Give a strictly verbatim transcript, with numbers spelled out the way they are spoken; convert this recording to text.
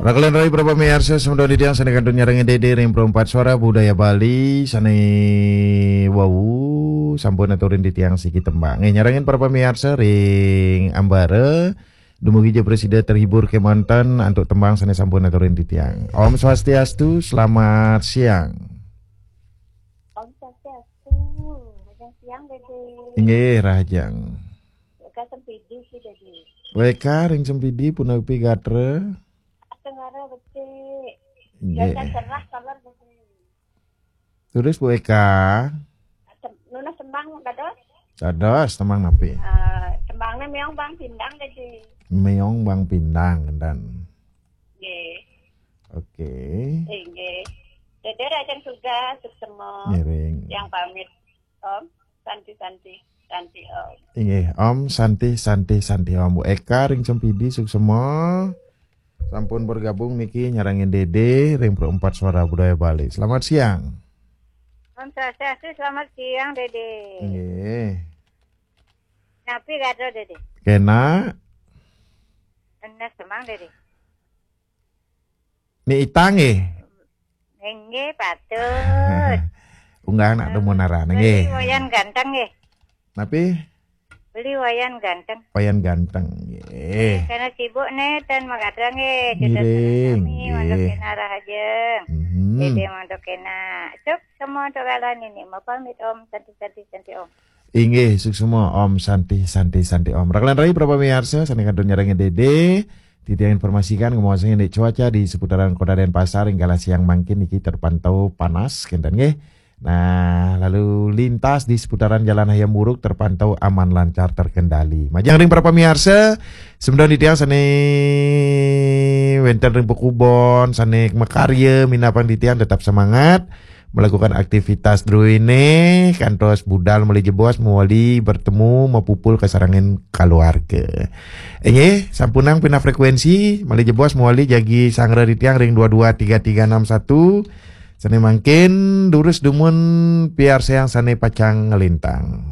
Rakelan rayi para pamiarsa, semeton titiang sane kantun nyarengin Dede ring Perempat Suara Budaya Bali, sane wau sampun aturin titiang siki tembang. Nggih, nyarengin para pamiarsa ring ambara, dumugi ja prasida terhibur kemanten antuk tembang sane sampun aturin titiang. Om Swastiastu, selamat siang. Om Swastiastu, rahajeng siang, Dede. Nggih, rahajeng. Weka Sempidi, Dede. Weka ring Sempidi, punapi gatra? Tengara becik. Nggih. Gasan cerah, taler becik. Terus, Bu Eka? Tem-, nunas tembang dados? Dados, tembang napi? Eh, tembangnya Meong Bang Pindang, Dede. Meong Bang Pindang, dan. Nggih. Oke. Inggih. Dede rahajeng tugas, suksema. Ngiring. Yang pamit, Om. Santi, Santi, Santi, Om. Inggih, Om Santi, Santi, Santi, Om. Bu Eka ring Sempidi, suksema. Sampun bergabung niki nyarengin Dede ring Perempat Suara Budaya Bali. Selamat siang. Om Swastiastu, selamat siang, Dede. Nggih. Napi gatra, Dede? Kena. Enes semang, Dede. Ni itang, nggih? Inggih, patut. Unggah nak demen aran, nggih. Beli Wayan Ganteng, nggih. Napi? Beli Wayan Ganteng. Wayan Ganteng, nggih. Karena sibuk nih, dan makadang, nggih. Ngiring, nggih. Mandok kena rahajeng. Mhm. Dede mandok kena. Cuk, semua untuk kalian ini. Mau pamit, Om. Santi, Santi, Santi, Om. Inggih, suksema Om Santi, Santi, Santi Om. Rakelan rayi para pamiarsa, sane kantun nyarengin Dede. Titiang informasikan, ngomong sing indik cuaca di seputaran Kota Denpasar, ring galah siang mangkin niki terpantau panas, kenten nggih. Nah, lalu lintas di seputaran Jalan Hayam Wuruk terpantau aman lancar terkendali. Majeng ring para pamiarsa, semeton titiang sane wenten ring pakubon, sane makarya, minab titiang tetap semangat melakukan aktivitas druene, kantos budal malih jebos mawali bertemu, mapupul kasarengin kaluarga. Inggih, sampunang pindah frekuensi, malih jebos mawali jagi sanggra titiang ring dua dua tiga tiga enam satu. Sane mangkin durus dumun piarsayang sane pacang nglintang.